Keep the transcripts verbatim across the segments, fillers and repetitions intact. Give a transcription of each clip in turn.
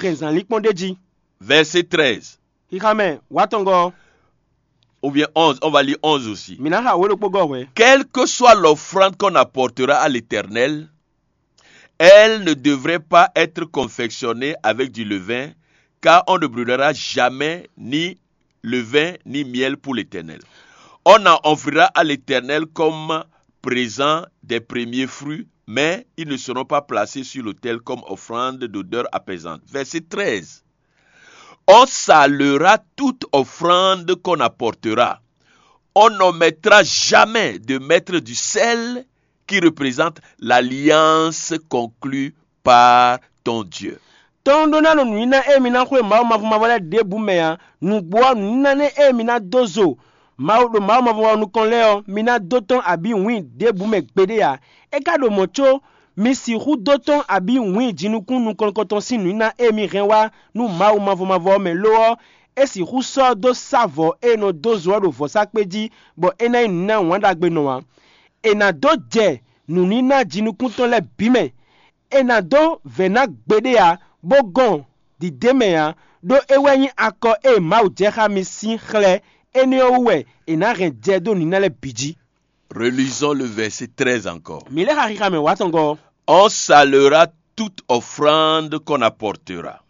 hɛn zǎnlínkpɔ́n ɖ'é jí. Verset treize. Xixa mɛ wǎtɔngɔ́ ɔ́, Ou bien onze, on va lire onze aussi. Mǐ ná xa wǒ ɖokpó gɔ́ hwɛ̌. Quelle que soit l'offrande qu'on apportera à l'Éternel, elle ne devrait pas être confectionnée avec du levain, car on ne brûlera jamais ni levain ni miel pour l'Éternel. On en offrira à l'Éternel comme présent des premiers fruits, mais ils ne seront pas placés sur l'autel comme offrande d'odeur apaisante. Verset treize. On salera toute offrande qu'on apportera. On n'omettra jamais de mettre du sel qui représente l'alliance conclue par ton Dieu. Tɔ́n ɖó ná ɖo nǔníná e mi ná xwé Mawu mavɔ mavɔ lɛ́ɛ ɖěbǔ mɛ ǎ. Nǔgbó ɔ́, nǔníná nɛ́ e mi ná dó zo Mawu ɖo Mawu mavɔ mavɔ nukɔn lɛ́ɛ ɔ́, mi ná dó tɔ́n abǐ wǐin ɖěbǔ mɛ gbeɖé ǎ. É ka ɖo mɔ̌ có mi sixú dó tɔ́n abǐ wǐin jinukún nukɔn nukɔntɔn sín nǔníná e mi hɛn wá nú Mawu mavɔ mavɔ ɔ́ mɛ lo ɔ́, é sixú sɔ́ dó sá vɔ̌ e è nɔ dó zo ɔ́ ɖo vɔ̌sákpé jí, bɔ é ná nyí nǔníná wǎn ɖagbe nɔ ǎ. È nǎ dó jɛ nǔníná jinukún tɔn lɛ́ɛ bǐ mɛ. È nǎ dó vɛ̌ ná gbeɖé ǎ, bó gɔn dǐdé mɛ ǎ, ɖó é wɛ nyí akɔ e Mawu jɛ xá mi sín xlɛ́. Énɛ́ ɔ́ wú wɛ è nǎ hɛn jɛ dó nǐ ná lɛ́ɛ bǐ jí. Relisons le verset treize encore. Mǐ lɛ́ xa xixa mɛ wǎtɔngɔ́ ɔ́. On salera toute offrande qu'on apportera.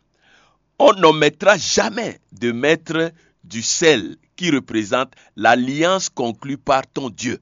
On n'omettra jamais de mettre du sel qui représente l'alliance conclue par ton Dieu.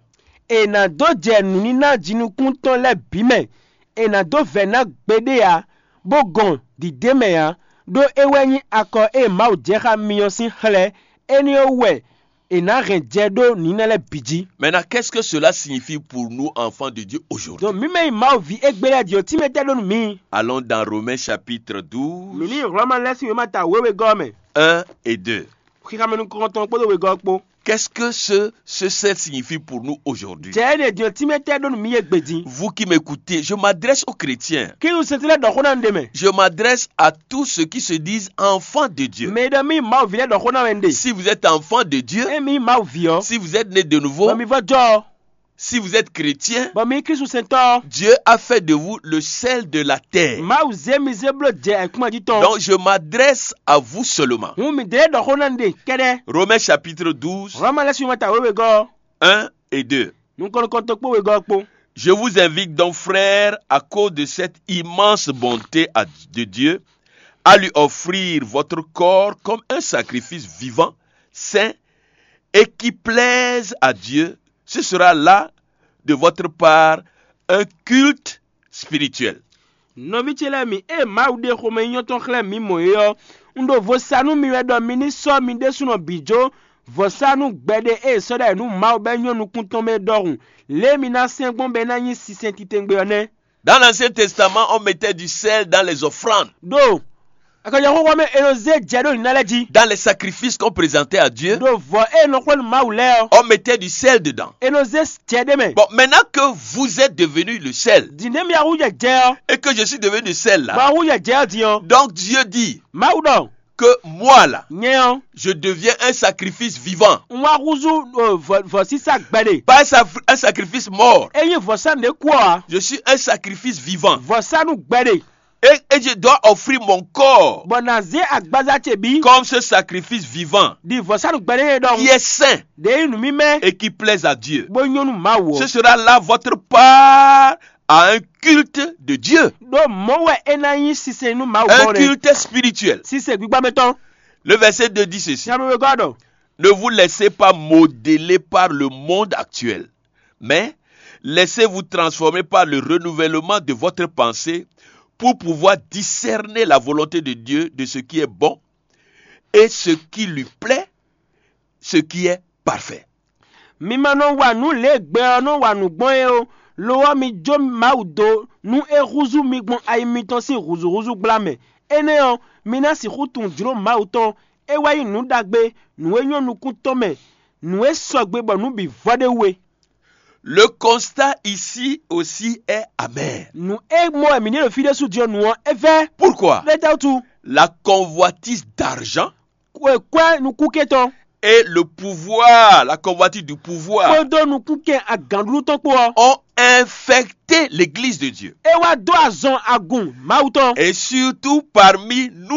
È nǎ dó jɛ nǔníná jinukún tɔn lɛ́ɛ bǐ mɛ. È nǎ dó vɛ̌ ná gbeɖé ǎ, bó gɔn dǐdé mɛ ǎ, ɖó é wɛ nyí akɔ e Mawu jɛ xá mi ɔ́ sín xlɛ́. Énɛ́ ɔ́ wú wɛ è nǎ hɛn jɛ ɖó nǐ nɛ́ lɛ́ɛ bǐ jí. Maintenant, qu'est-ce que cela signifie pour nous, enfants de Dieu, aujourd'hui? Donc mǐ mɛ nyí Mawu ví égbé lɛ́ɛ din ɔ́, tínmɛ tɛ́ ɖó nú mǐ. Allons dans Romains chapitre douze, Mǐ ní Hlɔ̌ma lɛ́ɛ sín wěma ta wěwegɔ́ ɔ́ mɛ. un et deux. Xixamɛ nukɔntɔn kpódó wegɔ́ ɔ́ kpó. Qu'est-ce que ce, ce sel signifie pour nous aujourd'hui? Jɛ énɛ́ din ɔ́, tínmɛ tɛ́ ɖó nú mǐ yě gbe din. Vous qui m'écoutez, je m'adresse aux chrétiens. Kí nu sɛntɛ́ lɛ́ɛ ɖɔ xó ná un ɖe mɛ. Je m'adresse à tous ceux qui se disent enfants de Dieu. Mɛ e ɖɔ mí Mawu ví lɛ́ɛ ɖɔ xó ná wɛ un ɖe. Si vous êtes enfant de Dieu, É mǐ nyí Mawu ví ɔ́, si vous êtes né de bɔ nouveau, mi vɔ jɔ ɔ́, si vous êtes chrétien, bɔ mi nyí Klísu sɛntɔ́ ɔ́, Dieu a fait de vous le sel de la terre. Mawu zé mi zé bló jɛ ayǐkúngban jí tɔn. Donc je m'adresse à vous seulement. Hǔn mǐ ɖe lɛ́ɛ ɖɔ xó ná un ɖe kɛ́ɖɛ́. Romains chapitre douze, Hlɔ̌ma lɛ́ɛ sín wěma ta wěwegɔ́ ɔ́, un et deux. Nukɔn nukɔntɔn kpó wegɔ́ ɔ́ kpó. Je vous invite donc, frères, à cause de cette immense bonté à- de Dieu, à lui offrir votre corps comme un sacrifice vivant, saint et qui plaise à Dieu. Ce sera là, de votre part, un culte spirituel. Nɔví ce lɛ́ɛ mi, ée Mawu ɖe xomɛ nyínyɔ́ tɔn xlɛ́ mǐ mɔ̌ é ɔ́, un ɖo vo sa nú mi wɛ ɖɔ mi ní sɔ́ mi ɖésúnɔ bǐ jó vɔ̌sánú gbɛɖe e è sɔ́ ɖ'ayǐ nú Mawu bɔ é nyɔ́ nukún tɔn mɛ é ɖɔhun, lě e mi ná sɛn gbɔn bɔ é ná nyí sinsɛn titewungbe ɔ́ nɛ́. Dans l'Ancien Testament, on mettait du sel dans les offrandes, Ɖo akɔjɔxóxó mɛ è nɔ zé jɛ ɖó nǐ ná lɛ́ɛ jí. Dans les sacrifices qu'on présentait à Dieu. Ɖo vɔ̌ e è nɔ xwlé nú Mawu lɛ́ɛ ɔ́, On mettait du sel dedans. è nɔ zé jɛ ɖé mɛ. Bon, maintenant que vous êtes devenu le sel Dǐndé mi ahú jɛ jɛ ɔ́, et que je suis devenu le sel bɔ là, ahú jɛ jɛ ɔ́ din ɔ́. Donc Dieu dit Mawu ɖɔ que moi là, nyɛ ɔ́, je deviens un sacrifice vivant. un wá húzú o, vɔ- vɔ̌sísá gbɛɖe. Pas un sacri- un sacrifice mort. É nyí vɔ̌sánú ɖé kú ɔ́ ǎ. Je suis un sacrifice vivant. Vɔ̌sánú gbɛɖe. Et, et je dois offrir mon corps Bɔ nǎ zé agbaza ce bǐ. Comme ce sacrifice vivant Ɖi vɔ̌sánú gbɛɖe nyɛ qui ɖɔhun. Est saint Ɖě nyí nǔ mímɛ́. Et qui plaise à Dieu. Bó nyɔ́ nú Mawu Ce ɔ́. Sera là votre part à un culte de Dieu. Ɖó mɔ̌ wɛ é ná nyí sinsɛn nú Mawu Un gbɔn ɖe. Culte spirituel. Sinsɛn gbígbá mɛ tɔn. Le verset deux dit ceci. Siamɛ wegɔ́ ɖɔ. Ne vous laissez pas modeler par le monde actuel, mais laissez-vous transformer par le renouvellement de votre pensée pour pouvoir discerner la volonté de Dieu, de ce qui est bon et ce qui lui plaît, ce qui est parfait. Mi ma nɔ wa nǔ lě e gbɛ ɔ́ nɔ wa nǔ gbɔn é ó. Lo ɔ́, mi jó Mawu dó nú é húzú mi gbɔn ayi mitɔn sín hǔzúhúzú gbla mɛ. Énɛ́ ɔ́, mi ná sixú tunwun jlǒ Mawu tɔn. É wɛ nyí nǔ ɖagbe, nǔ e nyɔ́ nukún tɔn mɛ, nǔ e sɔgbe bɔ nǔ bǐ vɔ ɖ'é wú é. Le constat ici aussi est amer. Nǔ e mɔ wɛ mǐ ɖe ɖo fí ɖésú din ɔ́, nǔ ɔ́, é vɛ́. Pourquoi? Lé tɛ́ wútu? La convoitise d'argent Kwɛ kwɛ́ nukúnké tɔn, et le pouvoir, la convoitise du pouvoir, kpódó nukúnkɛn agǎnɖuɖu tɔn kpó ɔ́, ont infecté l'église de Dieu. é wá dó azɔn agun Mawu tɔn. Et surtout parmi nous